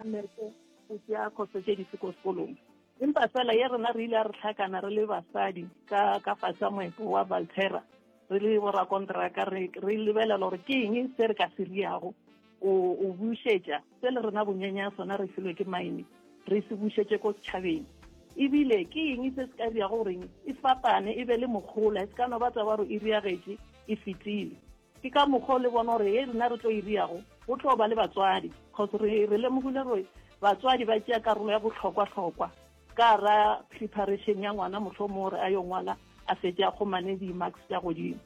Mmereko o tšea khoso tše dife ko sekolong. Empa fela ye rena re ile a re hlakana re le basadi ka ka fase ga moepo wa Valterra re le borakontraka re re lebelela gore ke eng se re ka se riago o o bušetša se le rena bonyenya sona re filwe ke mine re se bušetše ko setšhabeng ebile ke eng se se ka riago goreng e fapane e be le mokgola e se ka no ba taba gore e riagetše e fetile Ke ka mokgwa o le bona gore ye rena re tlo e riago go tlo ba le batswadi cause re re lemogile gore batswadi ba tšea karolo ya bohlokwa-hlokwa ka ra preparation ya ngwana mohlomong gore a yo ngwala a fetše a kgomane di-marks tša godimo.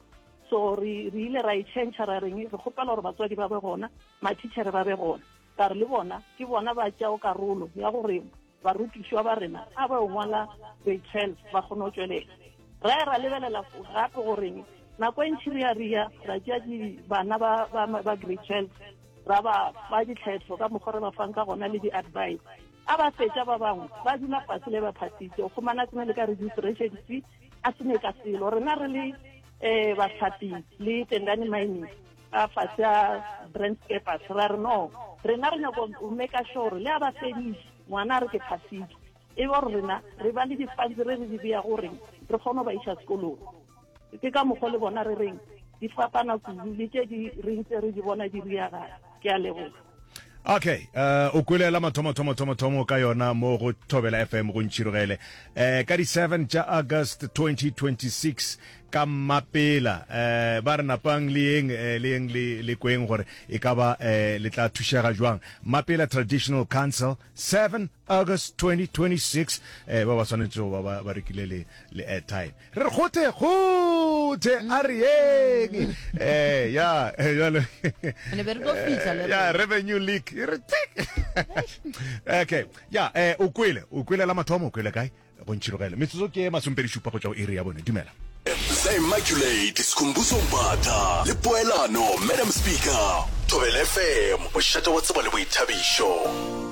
So re re ile ra e change ra reng re kgopela gore batswadi ba be gona, mathitšhere ba be gona ka re le bona ke bona ba tšeago karolo ya gore Barutišwa ba rena a ba yo ngwala grade 12 ba kgone go tšwelela. Ra ya ra lebelela gape gore nako e ntši re ya ria ra tšea bana ba, ba, ba grade 12 ra ba fa ditlhetlo ka mokgwa re ba fang ka gona le di-advice. A ba fetša ba bangwe ba dula fase le ba phasitše o kgomana sene le ka registration fee a sene ka selo. Rena re le um bahlapi le Tendani Mining a fase a Brand Skeppers ra re no rena re nyako go make sure le a ba fediše ngwana a re ke phasitše e be gore rena re ba le di-funds re re di beya goreng re kgone go ba iša sekolong ke ka mokgwa le bona re reng di fapana kudu le tše di re ntse re di bona di riagala ke a leboga. Okay, uh, o kwele la mathomo thomo thomo thomo ka yona mo go Thobela FM go ntšhirogele. Eh ka di 7 tša August 2026 ka mmapela eh ba re napang le yeng eh, le yeng le le kweng gore e ka ba eh le tla thušega jwang. Mapela Traditional Council 7 August 2026 eh ba ba swanetše go ba ba rekile le le airtime. Re re kgothe kgothe a re yeng eh ya eh, jalo Ne be re tlo fihla le ya rena. revenue leak e re tik okay ya eh o kwele o kwele la mathomo o kwele kae go ntšhirogele metsotso ke masompedi šupa go tšwa go iri ya bone dumela The Immaculate Skhumbuzo Mbatha le Poelano Madam Speaker Thobela FM mošate wa tsebo le boithabišo.